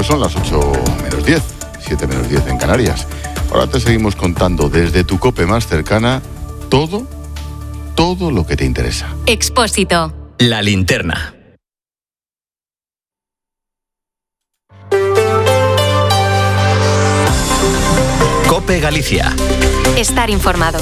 Pues son las 8 menos 10, 7 menos 10 en Canarias. Ahora te seguimos contando desde tu COPE más cercana todo lo que te interesa. Expósito. La linterna. COPE Galicia. Estar informado.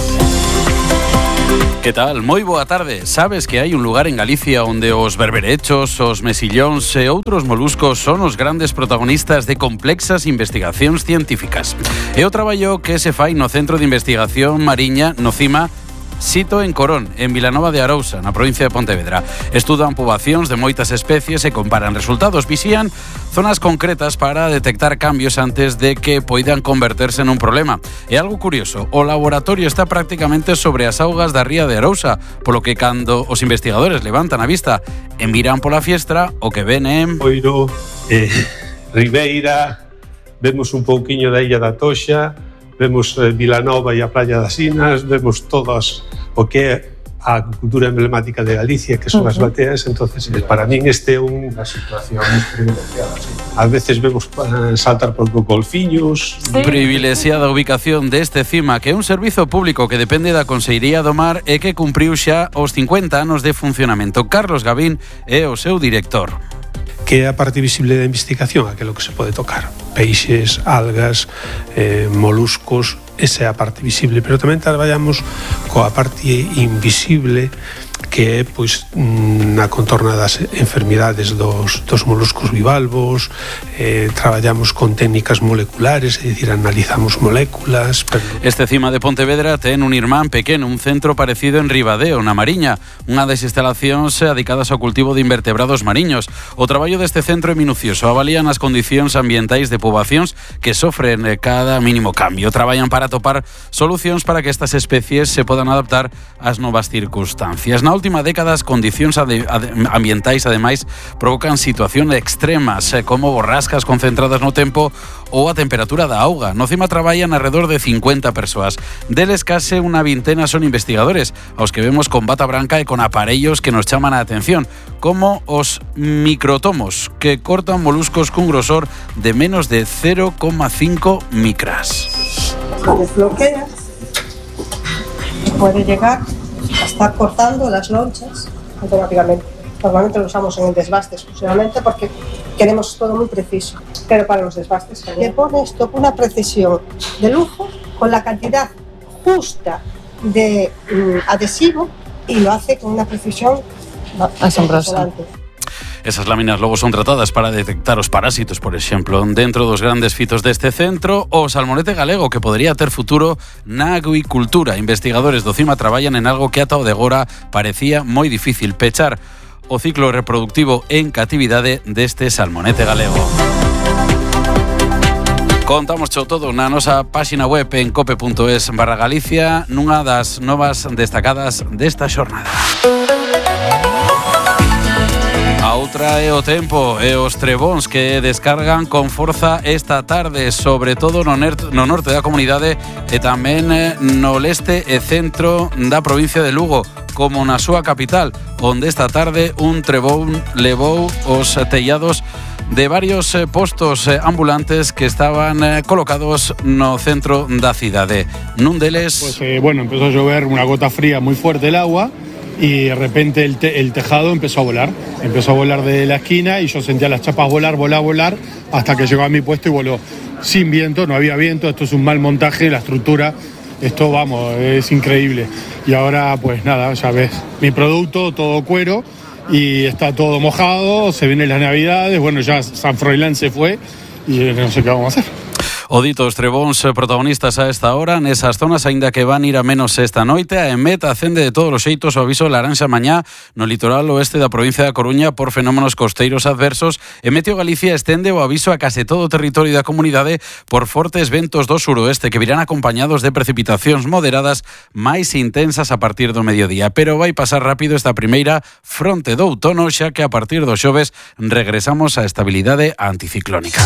Que tal? Moi boa tarde. Sabes que hai un lugar en Galicia onde os berberechos, os mesillóns e outros moluscos son os grandes protagonistas de complexas investigacións científicas. É o traballo que se fai no Centro de Investigación Mariña no CIMA, sito en Corón, en Vilanova de Arousa, na provincia de Pontevedra. Estudan poboacións de moitas especies e comparan resultados. Visían zonas concretas para detectar cambios antes de que poidan converterse nun problema. E algo curioso, o laboratorio está prácticamente sobre as augas da ría de Arousa, polo que cando os investigadores levantan a vista e miran pola fiestra, o que ven é... Oiro, Ribeira, vemos un pouquiño da Illa da Toxa, vemos Vilanova e a Praia das Inas, vemos todas o que é a cultura emblemática de Galicia, que son as bateas. Entonces, para min este é unha situación privilegiada. Sí. A veces vemos saltar por golfiños. Sí. Privilexiada ubicación deste CIMA, que é un servizo público que depende da Consellería do Mar e que cumpriu xa os 50 anos de funcionamento. Carlos Gavín é o seu director. Que é a parte visible da investigación, aquilo que se pode tocar. Peixes, algas, moluscos, esa é a parte visible, pero tamén traballamos coa parte invisible, que é pois na contorna das enfermidades dos moluscos bivalvos. Traballamos con técnicas moleculares, é dicir, analizamos moléculas. Este CIMA de Pontevedra ten un irmán pequeno, un centro parecido en Ribadeo, na Mariña, unha das instalacións dedicadas ao cultivo de invertebrados mariños. O traballo deste centro é minucioso, avalían as condicións ambientais de poboacións que sofren cada mínimo cambio. Traballan para atopar solucións para que estas especies se podan adaptar ás novas circunstancias. Na última década, as condicións ambientais, ademais, provocan situacións extremas, como borrascas concentradas no tempo ou a temperatura da auga. No CIMA traballan alrededor de 50 persoas. Deles case unha vintena son investigadores, aos que vemos con bata branca e con aparellos que nos chaman a atención, como os microtomos, que cortan moluscos cun grosor de menos de 0,5 micras. Se desbloquea, puede llegar a estar cortando las lonchas automáticamente. Normalmente lo usamos en el desbaste exclusivamente porque queremos todo muy preciso, pero para los desbastes le pone esto una precisión de lujo con la cantidad justa de adhesivo y lo hace con una precisión asombrosa. Esas láminas logo son tratadas para detectar os parásitos, por exemplo. Dentro dos grandes fitos deste centro, o salmonete galego, que podería ter futuro na acuicultura. Investigadores do CIMA traballan en algo que ata o de agora parecía moi difícil: pechar o ciclo reproductivo en catividade deste salmonete galego. Contamos todo na nosa páxina web en cope.es/Galicia, nunha das novas destacadas desta xornada. A outra é o tempo e os trebóns que descargan con forza esta tarde, sobre todo no norte da comunidade e tamén no leste e centro da provincia de Lugo, como na súa capital, onde esta tarde un trebón levou os tellados de varios postos ambulantes que estaban colocados no centro da cidade. Nun deles... Pues empezó a llover una gota fría muy fuerte el agua y de repente el tejado empezó a volar de la esquina y yo sentía las chapas volar hasta que llegó a mi puesto y voló sin viento, no había viento. Esto es un mal montaje, la estructura, esto es increíble. Y ahora pues nada, ya ves, mi producto todo cuero y está todo mojado, se vienen las navidades, ya San Froilán se fue y no sé qué vamos a hacer. O dito, os trebóns protagonistas a esta hora nesas zonas, aínda que van ir a menos esta noite. A EMET acende de todos os xeitos o aviso laranxa mañá no litoral oeste da provincia da Coruña por fenómenos costeiros adversos, e Meteo Galicia estende o aviso a case todo o territorio da comunidade por fortes ventos do suroeste que virán acompañados de precipitacións moderadas máis intensas a partir do mediodía. Pero vai pasar rápido esta primeira fronte do outono, xa que a partir do xoves regresamos á estabilidade anticiclónica.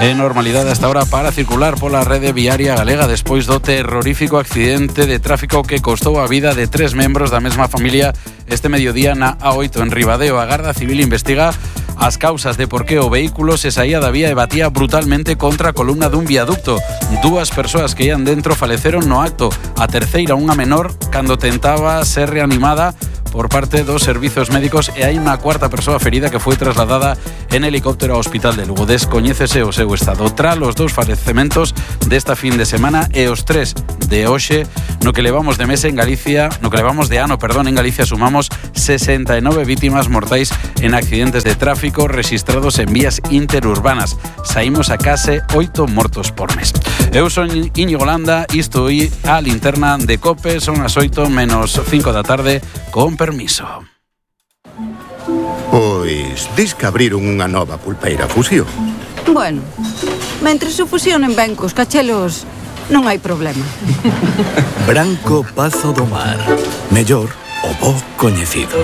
En normalidade hasta ahora para circular pola rede viaria galega despois do terrorífico accidente de tráfico que costou a vida de 3 membros da mesma familia este mediodía na A8 en Ribadeo. A Garda Civil investiga as causas de por que o vehículo se saía da vía e batía brutalmente contra a columna dun viaducto. 2 persoas que ian dentro faleceron no acto. A terceira, unha menor, cando tentaba ser reanimada por parte dos servizos médicos, e hai unha cuarta persoa ferida que foi trasladada en helicóptero ao Hospital de Lugo. Descoñécese o seu estado. Tras os 2 falecementos desta fin de semana e os 3 de hoxe, no que levamos de mes en Galicia, no que levamos de ano, en Galicia sumamos 69 vítimas mortais en accidentes de tráfico rexistrados en vías interurbanas. Saímos a case 8 mortos por mes. Eu son Íñigo Landa, isto é a linterna de COPE, son as 8 menos 5 da tarde, con permiso. Pois, dis que abriron unha nova pulpeira Fusión. Bueno, mentres se fusionen ben cos cachelos, non hai problema. Branco Pazo do Mar. Mellor o bo coñecido.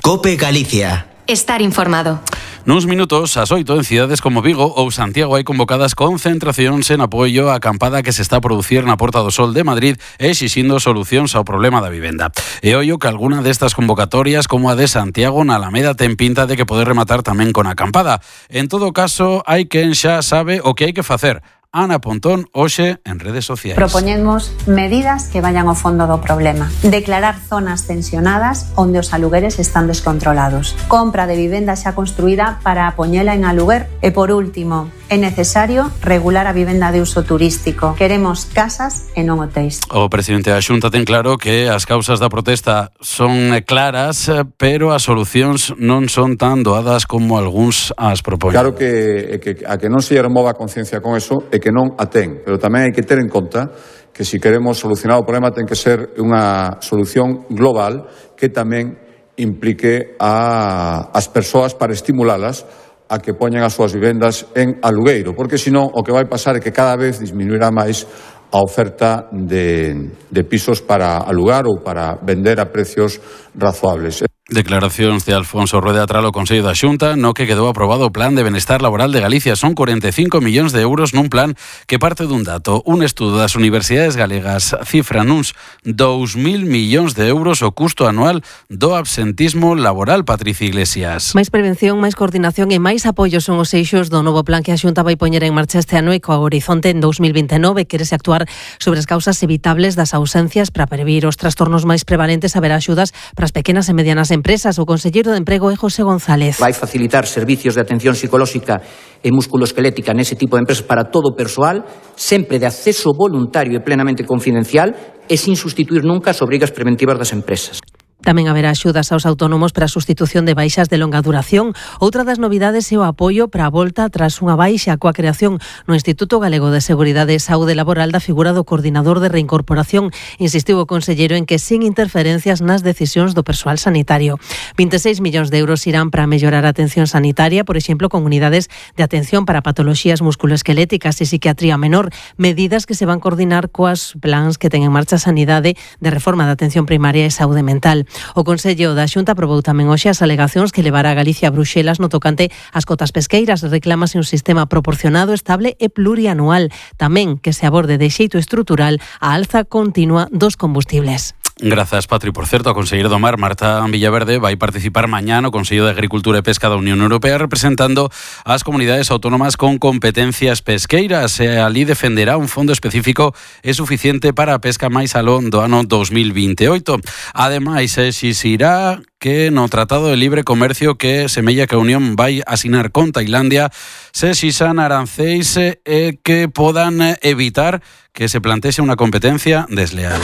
COPE Galicia. Estar informado. Nuns minutos, ás 8, en cidades como Vigo ou Santiago hai convocadas concentracións en apoio á acampada que se está a producir na Porta do Sol de Madrid e exixindo solucións ao problema da vivenda. E ollo que algunha destas convocatorias, como a de Santiago na Alameda, ten pinta de que poder rematar tamén con acampada. En todo caso, hai quen xa sabe o que hai que facer. Ana Pontón, hoxe en redes sociais. Propoñemos medidas que vayan ao fondo do problema. Declarar zonas tensionadas onde os alugueres están descontrolados. Compra de vivenda xa construída para poñela en aluguer. E por último, é necesario regular a vivenda de uso turístico. Queremos casas e non hotéis. O presidente da Xunta ten claro que as causas da protesta son claras, pero as solucións non son tan doadas como algúns as propoñen. Claro que a que non se remova a conciencia con eso é que non a ten, pero tamén hai que ter en conta que se queremos solucionar o problema ten que ser unha solución global que tamén implique as persoas para estimularlas a que poñan as súas vivendas en alugueiro, porque senón o que vai pasar é que cada vez disminuirá máis a oferta de pisos para alugar ou para vender a precios razoables. Declaracións de Alfonso Rueda tras o Consello da Xunta, no que quedou aprobado o Plan de Benestar Laboral de Galicia. Son 45 millóns de euros nun plan que parte dun dato. Un estudo das universidades galegas cifra nuns 2.000 millóns de euros o custo anual do absentismo laboral. Patricia Iglesias. Máis prevención, máis coordinación e máis apoio son os eixos do novo plan que a Xunta vai poñer en marcha este ano e co horizonte en 2029. Quérese actuar sobre as causas evitables das ausencias para previr os trastornos máis prevalentes, haber axudas para as pequenas e medianas empresas. O conselleiro de Emprego é José González. Vai facilitar servicios de atención psicolóxica e musculoesquelética nese tipo de empresas para todo o persoal, sempre de acceso voluntario e plenamente confidencial e sin sustituir nunca as obrigas preventivas das empresas. Tamén haberá axudas aos autónomos para a sustitución de baixas de longa duración. Outra das novidades é o apoio para a volta tras unha baixa coa creación no Instituto Galego de Seguridade e Saúde Laboral da figura do coordinador de reincorporación. Insistiu o conselleiro en que sin interferencias nas decisións do persoal sanitario. 26 millóns de euros irán para mellorar a atención sanitaria, por exemplo, con unidades de atención para patoloxías musculoesqueléticas e psiquiatría menor, medidas que se van coordinar coas plans que ten en marcha a Sanidade de reforma da atención primaria e saúde mental. O Consello da Xunta aprobou tamén hoxe as alegacións que levará a Galicia a Bruxelas no tocante ás cotas pesqueiras. Reclámase un sistema proporcionado, estable e plurianual. Tamén que se aborde de xeito estrutural a alza continua dos combustibles. Grazas, Patri. Por certo, a conselleira do Mar, Marta Villaverde, vai participar mañá no Consello de Agricultura e Pesca da Unión Europea representando as comunidades autónomas con competencias pesqueiras. E ali defenderá un fondo específico e suficiente para a pesca máis aló do ano 2028. Ademais, exixirá que no Tratado de Libre Comercio que semella que a Unión vai asinar con Tailandia se exixan aranceis e que podan evitar que se plantexe unha competencia desleal.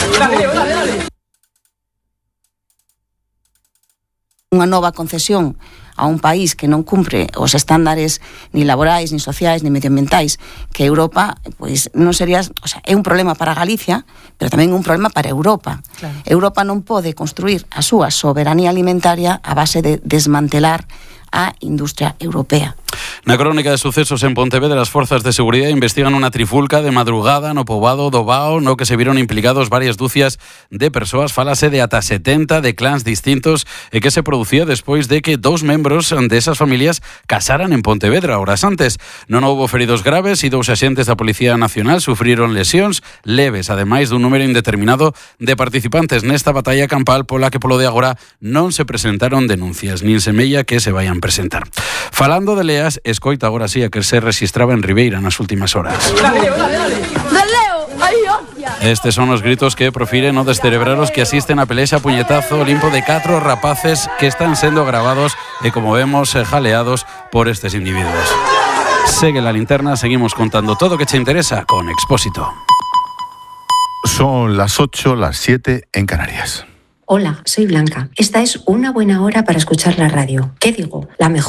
Unha nova concesión a un país que non cumpre os estándares ni laborais, ni sociais, ni medioambientais que Europa, pois non sería, o sea, é un problema para Galicia, pero tamén un problema para Europa. Claro. Europa non pode construir a súa soberanía alimentaria a base de desmantelar a industria europea. Na crónica de sucesos en Pontevedra, as forzas de seguridade investigan unha trifulca de madrugada no poboado do Bao, no que se viron implicados varias dúcias de persoas. Fálase de ata 70 de clans distintos e que se producía despois de que 2 membros desas familias casaran en Pontevedra horas antes. Non houbo feridos graves e 2 axentes da Policía Nacional sufriron lesións leves, ademais dun número indeterminado de participantes nesta batalla campal pola que polo de agora non se presentaron denuncias, nin semella que se vayan presentar. Falando de leas, escoita agora sí a que se registraba en Ribeira nas últimas horas. Estes son os gritos que profiren o descerebraros que asisten a pelexa a puñetazo limpo de 4 rapaces que están sendo gravados e, como vemos, jaleados por estes individuos. Segue la linterna, seguimos contando todo o que te interesa con Expósito. Son las 8, las 7 en Canarias. Hola, soy Blanca. Esta es una buena hora para escuchar la radio. ¿Qué digo? La mejor.